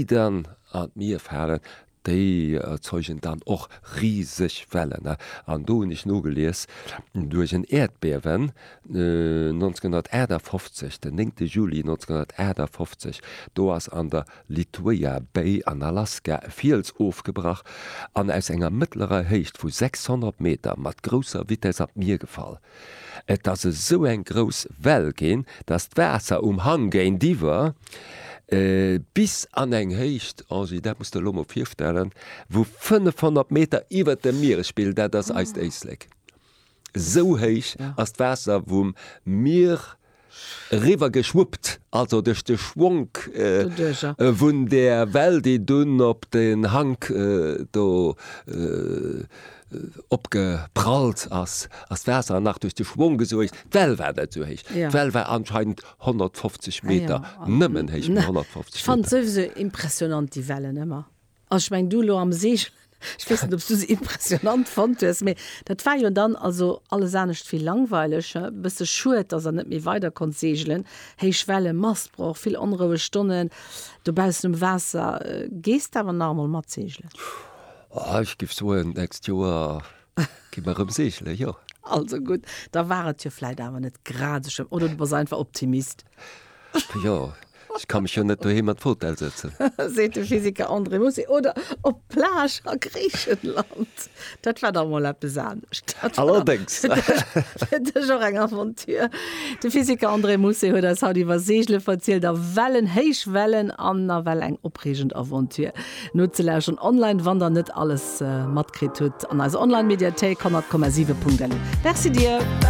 dann an d'Mier falen, déi erzeugen dann och riseg Wellen. An do hunn ech nogelies, duerch en Äerdbiewen 1958, den 9 Juli 1958, do ass an der Lituya Bay an Alaska e Fiels ofgebrach an aus enger mëttlerer Héicht vu 600 Meter mat grousser Vitess an d'Mier gefall. Et ass esou eng grouss Well ginn, dass d'Waasser um Hang géintiwwer bis an eng Héicht, Angie, dat muss de elo mol virstellen, vu 500 Meter iwwert dem Mieresspill, dat ass eist Éislek, esou héich ass d'Waasser vum Mier eriwwer geschwuppt, also duerch de Schwonk vun där Well, déi dunn op den Hank do opgeprallt ass, ass d'Waasser nach duerch de Schwong esou héich. D'Well war net esou héich. D'Well war anscheinend 150 Meter, nëmmen héich, mee 150 Meter. Ech fannen souwisou impressionant déi Wellen ëmmer. Also ech mengen du elo am Seegelen, ech weess net ob s du se impressionant fonnt hues, mee dat war jo dann also alles anescht wéi langweileg. E bësse schued, dass der net méi weider konnt seegelen. Héich Wellen, Mastbroch, vill onroueg Stonnen dobaussen um Waasser. Gees de awer nach emol mat seegelen? Oh, ech géif soen, d'nächst Joer gi mer erëm seegelen, jo. Also gutt, da war et jo vläit awer net grad esou schlëmm. Oder du bass einfach Optimist. Jo, ech ka mech jo net doheem an d'Fotell sëtzen. Seet de Physiker André Mousset. Oder op d'Plage a Griichenland. Dat war da mol eppes anescht. Allerdéngs. Fir dech och eng Aventure. De Physiker André Mousset huet eis haut iwwer Seegele verzielt a Wellen, héich Wellen an nawell eng opreegend Aventure. Nozelauschteren online, wann der net alles matkritt hutt, an eiser Online-Mediathéik 100,7.lu. Merci dir!